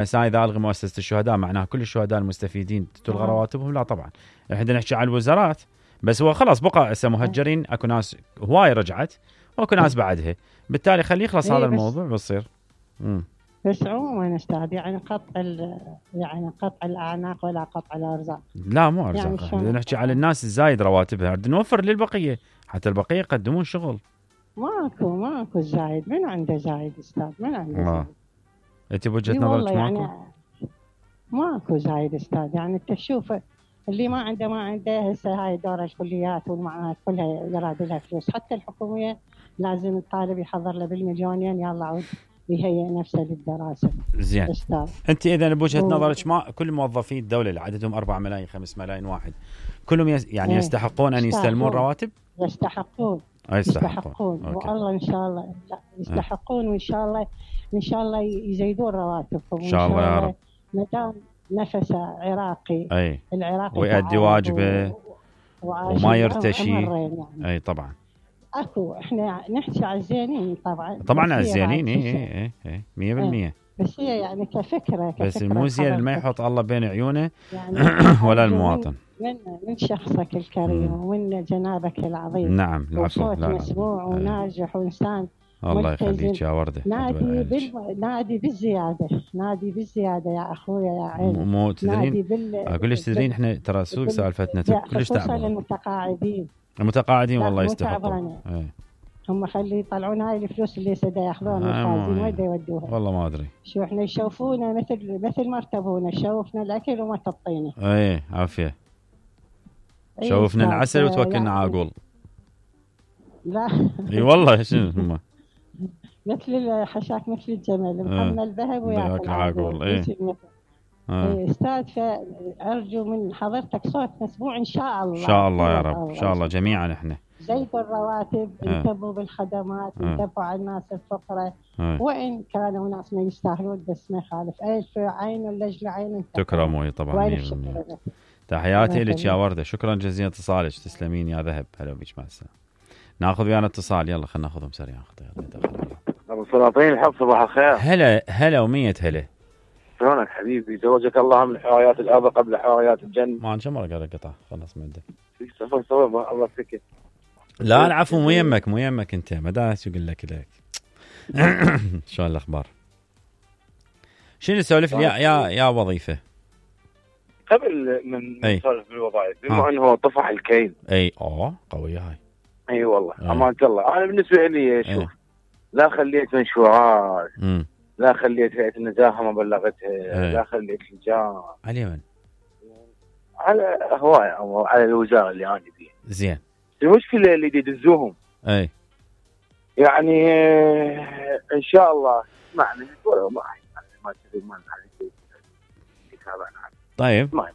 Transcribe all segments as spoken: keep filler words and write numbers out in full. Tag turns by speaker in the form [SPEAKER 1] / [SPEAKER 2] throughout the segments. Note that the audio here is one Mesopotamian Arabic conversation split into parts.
[SPEAKER 1] هسه اذا الغي مؤسسه الشهداء معناها كل الشهداء المستفيدين تلغى رواتبهم؟ لا طبعا، احنا نحكي على الوزارات بس. هو خلاص بقى هسه مهجرين، اكو ناس هواي رجعت واكو ناس بعدها، بالتالي خليه يخلص هذا الموضوع بتصير. امم
[SPEAKER 2] بس عموما استاذ يعني قطع يعني قطع الاعناق ولا قطع الارزاق.
[SPEAKER 1] لا مو ارزاق، يعني نحكي على الناس الزايد رواتبها، بدنا نوفر للبقيه حتى البقيه يقدمون شغل.
[SPEAKER 2] ماكو ماكو زايد، من عنده زايد استاذ؟ من عنده
[SPEAKER 1] آه.
[SPEAKER 2] زايد؟
[SPEAKER 1] انت بوجهه نظرك ماكو؟
[SPEAKER 2] يعني ماكو زايد استاذ، يعني انت تشوف اللي ما عنده ما عنده. هسه هاي دور الكليات والمعاهد كلها يراد لها فلوس، حتى الحكوميه لازم الطالب يحضر له بالمليونين يلا عود يهيئ نفسه للدراسه.
[SPEAKER 1] زين
[SPEAKER 2] استاذ
[SPEAKER 1] انت اذا بوجهه نظرك ما كل موظفي الدوله اللي عددهم أربعة ملايين خمسة ملايين واحد كلهم يس يعني يستحقون ان يستلمون رواتب؟
[SPEAKER 2] يستحقون يستحقون والله ان شاء الله لا يستحقون، وان شاء الله ان شاء الله يزيدون رواتبهم
[SPEAKER 1] ان شاء الله يا رب.
[SPEAKER 2] ما دام نفسه عراقي
[SPEAKER 1] اي
[SPEAKER 2] العراقي
[SPEAKER 1] ويؤدي واجبه
[SPEAKER 2] و...
[SPEAKER 1] وما يرتشي
[SPEAKER 2] يعني.
[SPEAKER 1] اي طبعا
[SPEAKER 2] اكو احنا نحكي على الزينين طبعا
[SPEAKER 1] طبعا على الزينين اي اي اي مية بالمية،
[SPEAKER 2] بس هي يعني كفكره كفكره
[SPEAKER 1] بس المو زين ما يحط الله بين عيونه
[SPEAKER 2] يعني
[SPEAKER 1] ولا المواطن.
[SPEAKER 2] من من شخصك الكريم ومن جنابك العظيم.
[SPEAKER 1] نعم العفو.
[SPEAKER 2] لا لا مسموع وناجح وانسان
[SPEAKER 1] الله يخليك يا ورده.
[SPEAKER 2] نادي بال... نادي بالزياده، نادي بالزياده يا اخويا يا عيني.
[SPEAKER 1] مو تدرين بال... اقول لك تدرين احنا ترى سوق سالفتنا كلش تعبان.
[SPEAKER 2] خصوصا المتقاعدين
[SPEAKER 1] المتقاعدين والله يستحقون.
[SPEAKER 2] هم خلي يطلعون هاي الفلوس اللي سدا ياخذون الخازن وين يودوها؟
[SPEAKER 1] والله ما ادري.
[SPEAKER 2] شو احنا يشوفونا مثل مثل ما ارتبونا، شوفنا الاكل وما تطينا.
[SPEAKER 1] اي عافيه. شوفنا العسل وتوكلنا على عقول.
[SPEAKER 2] لا
[SPEAKER 1] اي والله شنو هم
[SPEAKER 2] مثل حشاك مثل الجمل محمل ذهب وياكل عقول.
[SPEAKER 1] اي
[SPEAKER 2] استاذ، فارجو من حضرتك صوت مسموع ان شاء الله.
[SPEAKER 1] ان شاء الله يا رب، ان شاء الله جميعا احنا.
[SPEAKER 2] زيدوا الرواتب، انتبهوا بالخدمات، انتبهوا على الناس الفقراء، وان كانوا ناس ما يستاهلون بس ما يخالف، الف عين لجل عين
[SPEAKER 1] تكرموا طبعا. تحياتي لك يا ورده، شكرا جزيلا اتصالك، تسلمين يا ذهب. هلا بك، مع السلامه. ناخذ ويانا اتصال، يلا خلينا ناخذهم سريعا.
[SPEAKER 3] ابو سلاطين الحب، صباح الخير.
[SPEAKER 1] هلا هلا ومية هلا.
[SPEAKER 3] شلونك حبيبي؟ زوجك الله من حوايات الارض قبل حوايات الجنه.
[SPEAKER 1] ما كم مره قال قطع خلص من عندك.
[SPEAKER 3] سوي سوي الله سكت.
[SPEAKER 1] لا العفو، مو يمك مو يمك انت، ما داس يقول لك لك. شلون الاخبار؟ شنو نسولف يا يا يا وظيفه؟
[SPEAKER 3] قبل من نسولف بالوظائف، بما انه طفح الكيل.
[SPEAKER 1] اي اه قويه هاي.
[SPEAKER 3] اي أيوة والله امانه الله. انا بالنسبه لي شوف، لا خليت منشورات، لا خليت هيئه النزاهه ما بلغتها، أي. لا خليت لجان.
[SPEAKER 1] على من؟
[SPEAKER 3] على هوايه او على الوزاره اللي انا فيها.
[SPEAKER 1] زين.
[SPEAKER 3] المشكله اللي يدزوهم
[SPEAKER 1] اي
[SPEAKER 3] يعني ان شاء الله اسمعني ما ما تدري ما
[SPEAKER 1] طيب
[SPEAKER 3] ما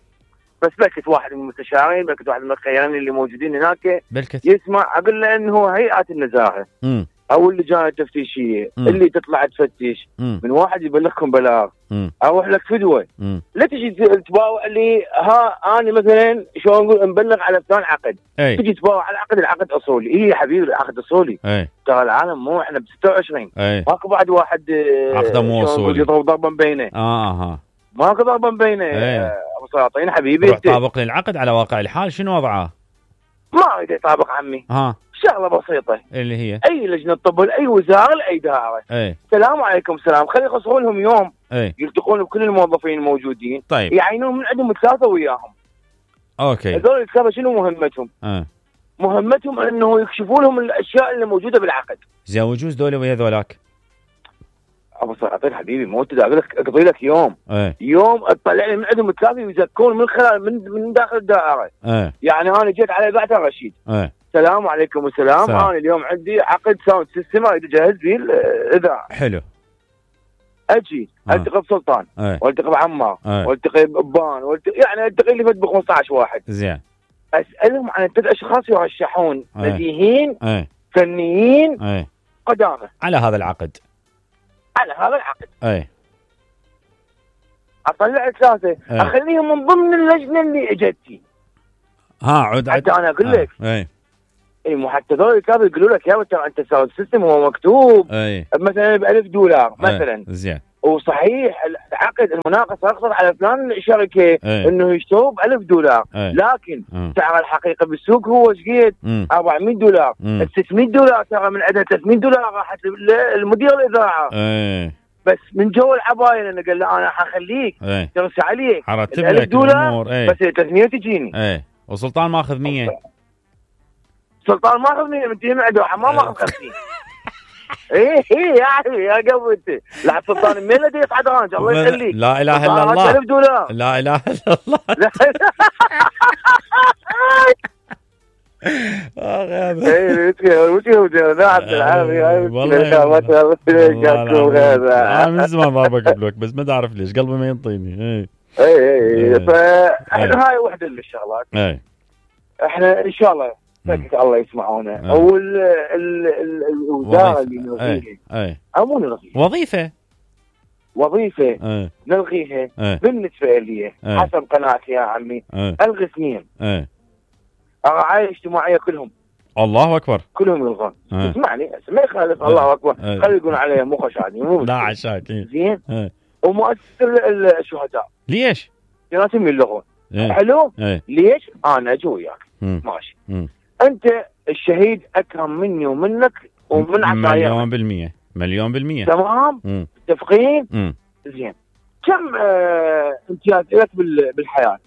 [SPEAKER 3] بس بلكت واحد من المستشارين، بلكت واحد من الخيارين اللي موجودين هناك
[SPEAKER 1] بلكت
[SPEAKER 3] يسمع اقول له انه هيئات النزاهه
[SPEAKER 1] م.
[SPEAKER 3] او اللجان التفتيشيه م. اللي تطلع تفتش م. من واحد يبلغكم بلاغ م. اروح لك فدوه، لا تجي تباوع لي ها انا مثلا شلون نقول مبلغ على فلان عقد،
[SPEAKER 1] أي.
[SPEAKER 3] تجي تباوع على عقد، العقد اصولي. ايه يا حبيبي العقد اصولي، ترى العالم مو احنا ب ستة وعشرين، ماكو بعد واحد
[SPEAKER 1] عقده مو اصولي
[SPEAKER 3] يضرب ضربا بينه.
[SPEAKER 1] اه ها
[SPEAKER 3] ماكو ضربا بينه. ابو سلاطين حبيبي
[SPEAKER 1] روح طابق للعقد على واقع الحال شنو وضعه؟
[SPEAKER 3] ما اريد يطابق عمي.
[SPEAKER 1] ها
[SPEAKER 3] شغله بسيطه
[SPEAKER 1] اللي هي
[SPEAKER 3] اي لجنه طب لاي وزاره لاي دائره.
[SPEAKER 1] اي
[SPEAKER 3] السلام عليكم سلام، خلي يخصصون لهم يوم
[SPEAKER 1] اي
[SPEAKER 3] يلتقون بكل الموظفين الموجودين.
[SPEAKER 1] طيب
[SPEAKER 3] يعينون من عندهم ثلاثه وياهم.
[SPEAKER 1] اوكي
[SPEAKER 3] هذول الثلاثه شنو مهمتهم؟
[SPEAKER 1] اه
[SPEAKER 3] مهمتهم انه يكشفوا لهم الاشياء اللي موجوده بالعقد.
[SPEAKER 1] زين وجوز دول ويا ذولاك
[SPEAKER 3] ابو سلاطين حبيبي مو تدري اقول لك اقضي لك يوم
[SPEAKER 1] ايه.
[SPEAKER 3] يوم اطلع لي من عندهم ثلاثه يزكون من خلال من من داخل الدائره.
[SPEAKER 1] ايه.
[SPEAKER 3] يعني انا جيت على بعث رشيد.
[SPEAKER 1] ايه.
[SPEAKER 3] السلام عليكم والسلام، انا اليوم عندي عقد ساوند سيستم اريد اجهز فيه الاذاعه.
[SPEAKER 1] حلو.
[SPEAKER 3] اجي اه. التقي بسلطان،
[SPEAKER 1] ايه.
[SPEAKER 3] والتقي بعمار،
[SPEAKER 1] ايه. والتقي
[SPEAKER 3] بابان، والتقي يعني التقي لي فد ب خمسة عشر واحد.
[SPEAKER 1] زين.
[SPEAKER 3] اسالهم عن الثلاث اشخاص يرشحون بديهين
[SPEAKER 1] ايه.
[SPEAKER 3] فنيين
[SPEAKER 1] ايه.
[SPEAKER 3] قدامى
[SPEAKER 1] على هذا العقد.
[SPEAKER 3] على هذا العقد.
[SPEAKER 1] اي
[SPEAKER 3] اطلع ثلاثه ايه. اخليهم من ضمن اللجنه اللي اجتي.
[SPEAKER 1] ها عد
[SPEAKER 3] حتى انا اقول لك
[SPEAKER 1] اي
[SPEAKER 3] اي مو حتى ذول كانوا يقولوا لك يا ترى انت ساوند سيستم هو مكتوب
[SPEAKER 1] اي
[SPEAKER 3] مثلا ب ألف دولار مثلا.
[SPEAKER 1] زين.
[SPEAKER 3] وصحيح عقد المناقصه اقصد على فلان شركه
[SPEAKER 1] ايه.
[SPEAKER 3] انه يشتروا ب ألف دولار،
[SPEAKER 1] ايه.
[SPEAKER 3] لكن
[SPEAKER 1] اه.
[SPEAKER 3] سعر الحقيقي بالسوق هو شقيد أربعمية دولار، ال ستمية دولار ترى من عندها ثلاثمية دولار راحت للمدير الاذاعه.
[SPEAKER 1] ايه.
[SPEAKER 3] بس من جو العبايه لانه قال له انا حخليك
[SPEAKER 1] ايه.
[SPEAKER 3] ترسي عليك
[SPEAKER 1] حرتب لك الامور.
[SPEAKER 3] ايه. بس ثلاثمية تجيني.
[SPEAKER 1] ايه. وسلطان ماخذ مية.
[SPEAKER 3] سلطان ماخذ مية من تيم عنده ما ماخذ خمسين. ايه ايه يعني يا قبل انت لا سلطان من الذي يصعد رانج الله يخليك.
[SPEAKER 1] لا اله الا الله.
[SPEAKER 3] ألف دولار.
[SPEAKER 1] لا اله الا الله. اخ يا ابو
[SPEAKER 3] ايه وش هو ده عبد العافيه
[SPEAKER 1] والله انا من زمان ما بقبلك بس ما تعرف ليش قلبي ما ينطيني. ايه
[SPEAKER 3] ايه ايه فاحنا هاي وحده من الشغلات.
[SPEAKER 1] ايه
[SPEAKER 3] احنا ان شاء الله فكك الله يسمعونا. او الوزاره اللي نلغيها
[SPEAKER 1] ايه
[SPEAKER 3] او مو نلغيها
[SPEAKER 1] وظيفه
[SPEAKER 3] وظيفه
[SPEAKER 1] ايه.
[SPEAKER 3] نلغيها
[SPEAKER 1] ايه.
[SPEAKER 3] بالنسبه لي
[SPEAKER 1] ايه.
[SPEAKER 3] حسب قناعتي يا عمي
[SPEAKER 1] ايه.
[SPEAKER 3] الغي اثنين.
[SPEAKER 1] ايه.
[SPEAKER 3] الرعايه الاجتماعيه كلهم
[SPEAKER 1] الله اكبر
[SPEAKER 3] كلهم يلغون.
[SPEAKER 1] ايه.
[SPEAKER 3] اسمعني ما يخالف. ايه. الله اكبر.
[SPEAKER 1] ايه.
[SPEAKER 3] خلي يقولون عليه مو خشعني مو
[SPEAKER 1] لا عشاك. ايه.
[SPEAKER 3] زين.
[SPEAKER 1] ايه.
[SPEAKER 3] ومؤسسه الشهداء
[SPEAKER 1] ليش؟
[SPEAKER 3] لازم يلغون.
[SPEAKER 1] ايه.
[SPEAKER 3] حلو.
[SPEAKER 1] ايه.
[SPEAKER 3] ليش؟ انا اجي وياك ماشي.
[SPEAKER 1] مم.
[SPEAKER 3] انت الشهيد اكرم مني ومنك ومن عشايرنا
[SPEAKER 1] مليون بالمية مليون بالمية.
[SPEAKER 3] تمام. متفقين. زين كم آه امتياز لك بالحياه؟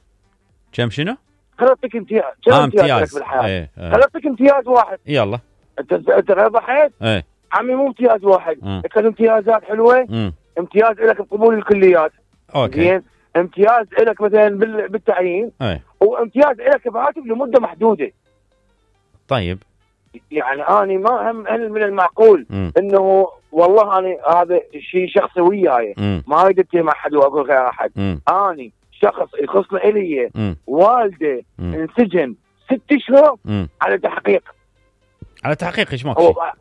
[SPEAKER 1] كم شنو؟
[SPEAKER 3] خلطك امتياز كم
[SPEAKER 1] آه
[SPEAKER 3] امتياز,
[SPEAKER 1] امتياز
[SPEAKER 3] لك بالحياه؟
[SPEAKER 1] ايه. ايه.
[SPEAKER 3] خلطك امتياز واحد.
[SPEAKER 1] يلا
[SPEAKER 3] انت انت غير ضحيت.
[SPEAKER 1] ايه.
[SPEAKER 3] عمي مو امتياز واحد.
[SPEAKER 1] مم.
[SPEAKER 3] كان امتيازات حلوه.
[SPEAKER 1] مم.
[SPEAKER 3] امتياز لك بقبول الكليات.
[SPEAKER 1] اوكي.
[SPEAKER 3] زين امتياز لك مثلا بالتعيين.
[SPEAKER 1] ايه.
[SPEAKER 3] وامتياز لك براتب لمده محدوده.
[SPEAKER 1] طيب
[SPEAKER 3] يعني أنا ما هم هل من المعقول
[SPEAKER 1] م.
[SPEAKER 3] إنه والله أنا هذا شيء شخصي وياي ما أريد أتهم مع أحد وأقول غير أحد. أنا شخص يخصني إلي والده م. انسجن ست شهور على تحقيق.
[SPEAKER 1] على تحقيق إيش ماكو؟
[SPEAKER 3] هو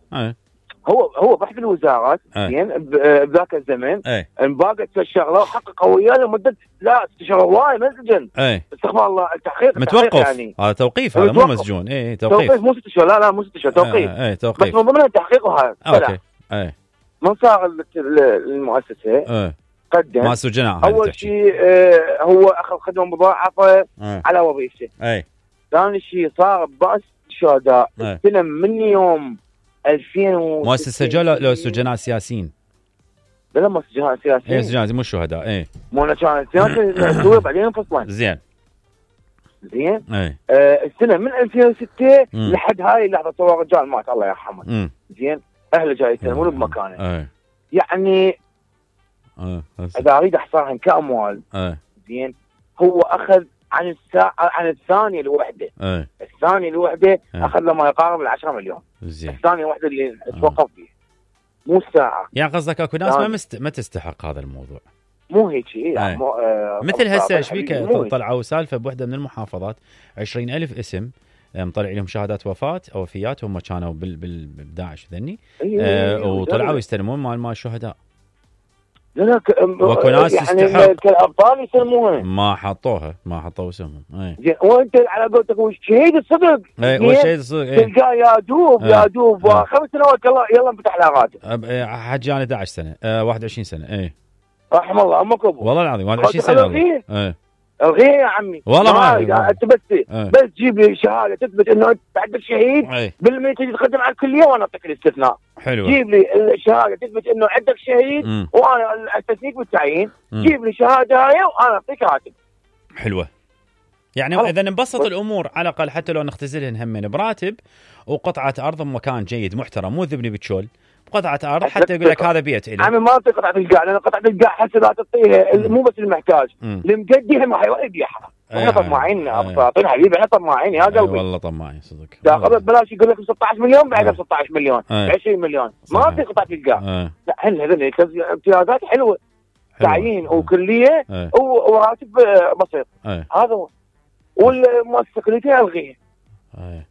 [SPEAKER 3] هو هو بحث الوزارات زين بذاك الزمن انباقت الشغله وحققوا وياه لمده لا ست شهور وايد ما سجن. استغفر الله التحقيق
[SPEAKER 1] متوقف
[SPEAKER 3] يعني
[SPEAKER 1] هذا توقيف هذا مو مسجون. ايه توقيف.
[SPEAKER 3] توقيف مو ست شهور لا لا مو ست شهور توقيف.
[SPEAKER 1] ايه توقيف
[SPEAKER 3] بس من ضمن التحقيق وهذا.
[SPEAKER 1] اوكي. ايه
[SPEAKER 3] من صار المؤسسه
[SPEAKER 1] ايه
[SPEAKER 3] قدم
[SPEAKER 1] ما سجناء
[SPEAKER 3] اول شيء اه هو اخذ خدمه مضاعفه
[SPEAKER 1] ايه.
[SPEAKER 3] على وظيفته.
[SPEAKER 1] ايه
[SPEAKER 3] ثاني شيء صار بأس الشهداء استلم من يوم ألفين
[SPEAKER 1] مؤسسة سجناء لو سجناء سياسيين.
[SPEAKER 3] لا لا مو سجناء سياسيين.
[SPEAKER 1] ايه سجناء مو الشهداء. ايه
[SPEAKER 3] مو كان سياسي بعدين انفصلن.
[SPEAKER 1] زين
[SPEAKER 3] زين.
[SPEAKER 1] ايه
[SPEAKER 3] آه السنه من ألفين وستة لحد هاي اللحظه صور رجال مات الله يرحمه. زين اهله جاي يسلمون بمكانه.
[SPEAKER 1] ايه
[SPEAKER 3] يعني
[SPEAKER 1] ايه
[SPEAKER 3] اذا اريد احصرهن كاموال.
[SPEAKER 1] ايه
[SPEAKER 3] زين هو اخذ عن الساعه عن الثانيه الوحده.
[SPEAKER 1] ايه
[SPEAKER 3] الثانيه الوحده ايه. اخذ له ما يقارب ال عشرة مليون.
[SPEAKER 1] زين
[SPEAKER 3] الثانيه الوحده اللي توقف فيها مو الساعه.
[SPEAKER 1] يعني قصدك اكو ناس ما مست... ما تستحق هذا الموضوع.
[SPEAKER 3] مو هيك يعني
[SPEAKER 1] ايه.
[SPEAKER 3] مو آه
[SPEAKER 1] مثل هسه ايش فيك طلعوا سالفه بوحده من المحافظات عشرين ألف اسم مطلع لهم شهادات وفاه او وفيات هم كانوا بال بال بداعش ذني.
[SPEAKER 3] ايه.
[SPEAKER 1] آه وطلعوا يستلمون مال مال الشهداء.
[SPEAKER 3] لا لا ك...
[SPEAKER 1] واكو ناس
[SPEAKER 3] يعني
[SPEAKER 1] تستحق
[SPEAKER 3] كالابطال يسموها
[SPEAKER 1] ما حطوها ما حطوا اسمهم. اي
[SPEAKER 3] زين وانت على قولتك وش شهيد الصدق.
[SPEAKER 1] اي والشهيد الصدق. اي
[SPEAKER 3] تلقاه يا دوب
[SPEAKER 1] ايه.
[SPEAKER 3] يا دوب ايه. خمس سنوات يلا يلا انفتح له راتب.
[SPEAKER 1] حجي انا احد عشر سنه آه واحد وعشرين سنه. اي
[SPEAKER 3] رحم الله امك ابو
[SPEAKER 1] والله العظيم واحد وعشرين سنه.
[SPEAKER 3] اي الغيه يا عمي
[SPEAKER 1] والله ما
[SPEAKER 3] يعني انت بس ايه. بس جيب لي شهاده تثبت انه انت عندك شهيد
[SPEAKER 1] ايه.
[SPEAKER 3] بالمية تجي تقدم على الكليه وانا اعطيك الاستثناء.
[SPEAKER 1] حلو.
[SPEAKER 3] جيب لي الشهاده تثبت انه عندك شهيد م. وانا استثنيك بالتعيين. جيب لي شهاده هاي وانا اعطيك راتب.
[SPEAKER 1] حلوه يعني اذا انبسط الامور على الاقل حتى لو نختزلهن همين براتب وقطعه ارض بمكان جيد محترم مو ذبني بتشول قطعه ارض حتى يقول لك هذا بيت الي.
[SPEAKER 3] عمي ما اعطي قطعه القاع لان قطعه القاع حتى لا تعطيها مو بس المحتاج المقدي هم راح يبيعها. احنا طماعين ابساطين حبيبي احنا طماعين يا قلبي.
[SPEAKER 1] أي والله طماعين صدق.
[SPEAKER 3] تاخذ ببلاش يقول لك ستة عشر مليون بعدها ستة عشر مليون عشرين مليون ما اعطي قطعه القاع. لا هن هذول امتيازات حلوه تعيين وكليه وراتب بسيط. هذا هو والمؤسسه كليتها الغيها.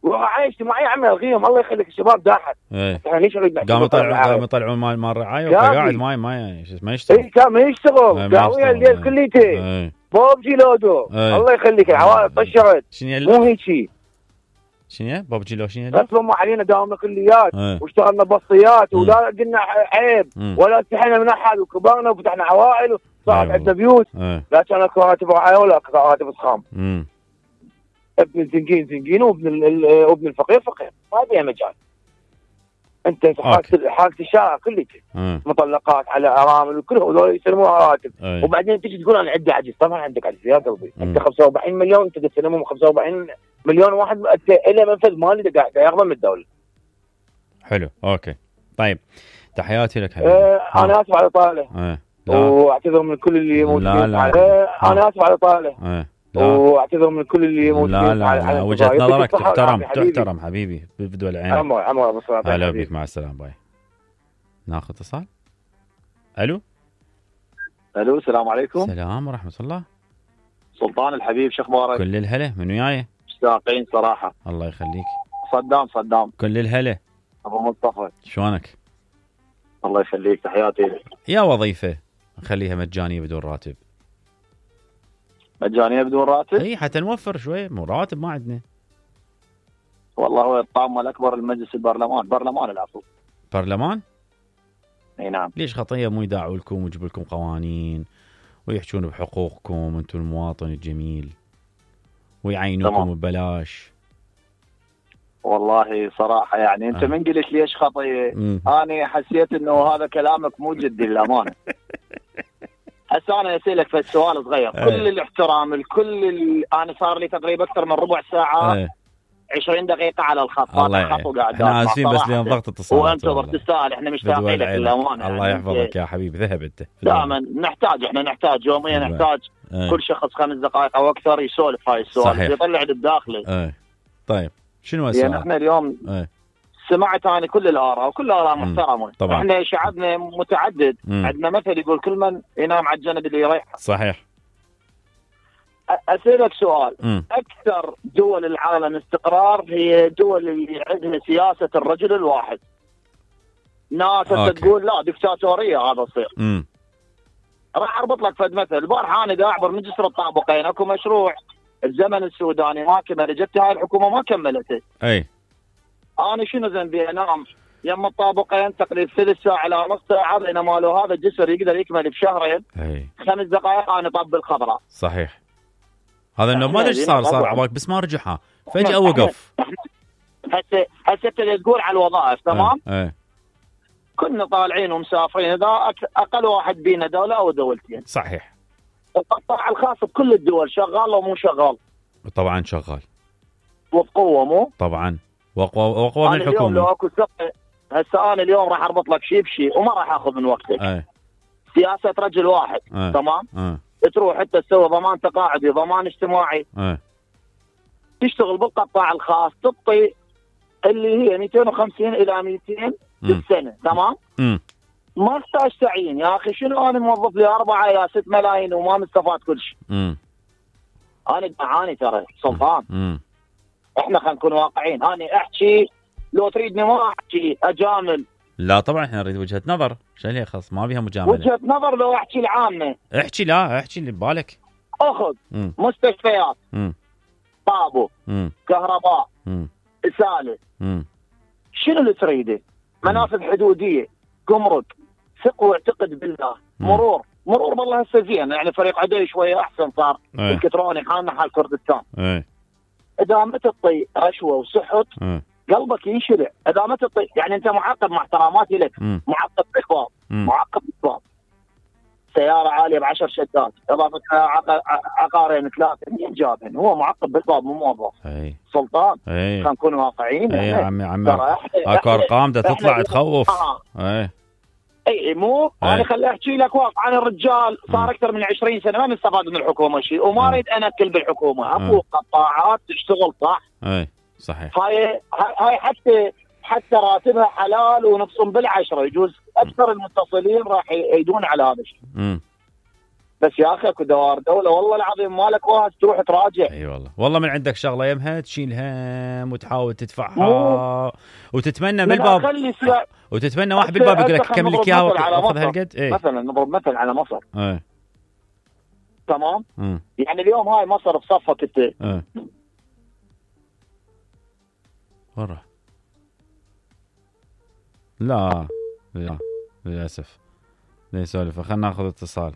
[SPEAKER 3] ورعايه اجتماعيه يا عمي الغيهم الله يخليك الشباب داحت.
[SPEAKER 1] احنا ليش نريد قاموا يطلعون قاموا يطلعون مال مال رعايه وقاعد ما ما ما يشتغل.
[SPEAKER 3] اي كان ما يشتغل قاويه الليل كليته بوب جيلودو الله يخليك العوائل طشرت مو هيك شيء.
[SPEAKER 1] شنو بوب جيلو شنو
[SPEAKER 3] غصبوا علينا داومنا كليات واشتغلنا بصيات ولا قلنا عيب ولا استحينا من احد وكبرنا وفتحنا عوائل صعب عندنا بيوت
[SPEAKER 1] ايه.
[SPEAKER 3] لا كان اكو راتب رعايه ولا اكو راتب اسخام.
[SPEAKER 1] امم
[SPEAKER 3] ابن الزنقين زنقين وابن ال- وابن الفقير فقير، ما فيها مجال. انت حاجه حاجه الشارع كلها مطلقات على ارامل وكل هذول يسلموها راتب.
[SPEAKER 1] ايه.
[SPEAKER 3] وبعدين تيجي تقول انا عندي عجز، طبعا عندك عجز يا قلبي.
[SPEAKER 1] مم.
[SPEAKER 3] انت خمسة وأربعين مليون انت تسلمهم خمسة وأربعين مليون واحد الى منفذ مالي قاعد ياخذه من الدوله.
[SPEAKER 1] حلو اوكي طيب تحياتي لك حبيبي.
[SPEAKER 3] اه انا اسف على طاله.
[SPEAKER 1] ايه. لا.
[SPEAKER 3] واعتذر من كل اللي موجودين.
[SPEAKER 1] لا لا.
[SPEAKER 3] اه انا اسف على طاله.
[SPEAKER 1] ايه. لا.
[SPEAKER 3] واعتذر من كل اللي موجودين.
[SPEAKER 1] لا لا, لا. وجهة نظرك تحترم
[SPEAKER 3] حبيبي.
[SPEAKER 1] تحترم حبيبي بدول عينك.
[SPEAKER 3] عمر عمر ابو صلاح.
[SPEAKER 1] هلا بك مع السلامه باي. ناخذ اتصال. الو.
[SPEAKER 4] الو السلام عليكم.
[SPEAKER 1] السلام ورحمه الله.
[SPEAKER 4] سلطان الحبيب شو اخبارك؟
[SPEAKER 1] كل الهلا من وياي.
[SPEAKER 4] مشتاقين صراحه.
[SPEAKER 1] الله يخليك.
[SPEAKER 4] صدام صدام.
[SPEAKER 1] كل الهلا.
[SPEAKER 4] ابو مصطفى
[SPEAKER 1] شلونك؟
[SPEAKER 4] الله يخليك تحياتي لك.
[SPEAKER 1] يا وظيفه نخليها مجانيه بدون راتب.
[SPEAKER 4] مجانيه بدون راتب؟
[SPEAKER 1] اي حتى نوفر شوي، مو راتب ما عندنا.
[SPEAKER 4] والله هو الطامه الاكبر المجلس البرلمان، برلمان العفو.
[SPEAKER 1] برلمان؟
[SPEAKER 4] اي نعم.
[SPEAKER 1] ليش خطيه مو يداعوا لكم ويجيبوا لكم قوانين ويحجون بحقوقكم انتم المواطن الجميل ويعينوكم ببلاش؟
[SPEAKER 4] والله صراحه يعني انت
[SPEAKER 1] آه.
[SPEAKER 4] من قلت ليش خطيه؟ انا حسيت انه هذا كلامك مو جدي للامانه. هسه انا اسالك في السؤال صغير.
[SPEAKER 1] آه.
[SPEAKER 4] كل الاحترام الكل ال... انا صار لي تقريبا اكثر من ربع ساعه
[SPEAKER 1] آه.
[SPEAKER 4] عشرين دقيقه على الخط.
[SPEAKER 1] الله يعين. احنا اسفين بس لان ضغط اتصالات.
[SPEAKER 4] وانتظر تستاهل، احنا مشتاقين لك للامانه.
[SPEAKER 1] الله يحفظك يا حبيبي. ذهب انت
[SPEAKER 4] دائما نحتاج، احنا نحتاج يوميا نحتاج
[SPEAKER 1] آه.
[SPEAKER 4] كل شخص خمس دقائق او اكثر يسولف هاي السؤال يطلع للداخلي.
[SPEAKER 1] آه. طيب شنو السؤال؟
[SPEAKER 4] يعني احنا اليوم آه. سمعت انا كل الاراء وكل الاراء محترمه.
[SPEAKER 1] طبعا
[SPEAKER 4] احنا شعبنا متعدد. مم. عندنا مثل يقول كل من ينام على الجنب اللي يريح.
[SPEAKER 1] صحيح.
[SPEAKER 4] اسالك سؤال.
[SPEAKER 1] مم.
[SPEAKER 4] اكثر دول العالم استقرار هي دول اللي عندها سياسه الرجل الواحد. ناس تقول لا دكتاتوريه هذا يصير. راح اربط لك فد مثل. البارحه انا دا اعبر من جسر الطابقين اكو مشروع الزمن السوداني ما كمل، جت هاي الحكومه ما كملته.
[SPEAKER 1] اي
[SPEAKER 4] انا شنو ذنبي انام يم الطابقين تقريبا ثلث ساعه الى نص ساعه بينما لو هذا الجسر يقدر يكمل بشهرين.
[SPEAKER 1] اي
[SPEAKER 4] خمس دقائق انا طب الخضراء.
[SPEAKER 1] صح. هذا انه ما ادري ايش صار صار عباك بس ما رجعها فجاه وقف.
[SPEAKER 4] هسه هسه تقول على الوظائف تمام؟
[SPEAKER 1] اي
[SPEAKER 4] كنا طالعين ومسافرين اذا اقل واحد بينا دوله او دولتين.
[SPEAKER 1] صحيح.
[SPEAKER 4] القطاع الخاص بكل الدول شغال ومو شغال؟
[SPEAKER 1] طبعا شغال
[SPEAKER 4] وبقوه مو؟
[SPEAKER 1] طبعا واقوى واقوى من الحكومه.
[SPEAKER 4] لو اكو ثقه هسه انا اليوم راح اربط لك شيء بشيء وما راح اخذ من وقتك.
[SPEAKER 1] اي
[SPEAKER 4] سياسه رجل واحد.
[SPEAKER 1] أي.
[SPEAKER 4] تمام؟
[SPEAKER 1] أي.
[SPEAKER 4] تروح انت تسوي ضمان تقاعدي ضمان اجتماعي.
[SPEAKER 1] أي.
[SPEAKER 4] تشتغل بالقطاع الخاص تعطي اللي هي مئتين وخمسين الى مئتين بالسنه. تمام؟
[SPEAKER 1] م.
[SPEAKER 4] ما احتاج تعيين يا اخي. شنو انا موظف لي أربعة الى ست ملايين وما مستفاد كل شيء. انا اعاني ترى سلطان.
[SPEAKER 1] م.
[SPEAKER 4] احنا خلينا نكون واقعيين. انا احكي لو تريدني ما احكي اجامل.
[SPEAKER 1] لا طبعا احنا نريد وجهه نظر. شو اللي خاص ما بيها مجامله.
[SPEAKER 4] وجهه نظر لو احكي العامه.
[SPEAKER 1] احكي لا احكي اللي ببالك.
[SPEAKER 4] اخذ م. مستشفيات.
[SPEAKER 1] م.
[SPEAKER 4] طابو.
[SPEAKER 1] م.
[SPEAKER 4] كهرباء.
[SPEAKER 1] م.
[SPEAKER 4] اساله.
[SPEAKER 1] م.
[SPEAKER 4] شنو اللي تريده؟ منافذ حدوديه، جمرك، ثق واعتقد بالله، مرور، مرور والله هسه زين يعني فريق عدي شويه احسن صار
[SPEAKER 1] ايه.
[SPEAKER 4] الكتروني حالنا حال كردستان.
[SPEAKER 1] ايه.
[SPEAKER 4] اذا ما تعطي رشوه وسحت
[SPEAKER 1] ايه.
[SPEAKER 4] قلبك ينشرع. اذا ما تعطي يعني انت معقد مع احتراماتي لك.
[SPEAKER 1] م.
[SPEAKER 4] معقد بالباب، معقد بالباب. سياره عاليه بعشر شدات، اضافه عقارين ثلاثه، مين جابهن؟ هو معقد بالباب مو موظف.
[SPEAKER 1] اي
[SPEAKER 4] سلطان.
[SPEAKER 1] اي
[SPEAKER 4] خلينا نكون واقعيين.
[SPEAKER 1] اي يا عمي عمي اكو ارقام ده تطلع تخوف.
[SPEAKER 4] آه.
[SPEAKER 1] اي
[SPEAKER 4] اي مو انا خلي احكي لك واقع. انا الرجال صار اكثر من عشرين سنه ما مستفاد من الحكومه شيء وما اريد انكل بالحكومه. اكو قطاعات تشتغل صح.
[SPEAKER 1] اي صحيح.
[SPEAKER 4] هاي هاي حتى حتى راتبها حلال ونقسم بالعشره يجوز اكثر المتصلين راح يدون على هذا الشيء.
[SPEAKER 1] امم
[SPEAKER 4] بس يا اخي اكو دوار دوله والله العظيم مالك واحد تروح تراجع.
[SPEAKER 1] اي أيوة والله والله من عندك شغله يمها تشيل هم وتحاول تدفعها وتتمنى بالباب وتتمنى واحد بالباب يقول لك كمل لك اياها واخذ هالقد.
[SPEAKER 4] ايه مثلا نضرب مثل على مصر.
[SPEAKER 1] ايه
[SPEAKER 4] تمام.
[SPEAKER 1] مم.
[SPEAKER 4] يعني اليوم هاي مصر بصفك انت.
[SPEAKER 1] ايه ورا لا لا للاسف لا يسولف. خلينا ناخذ اتصال.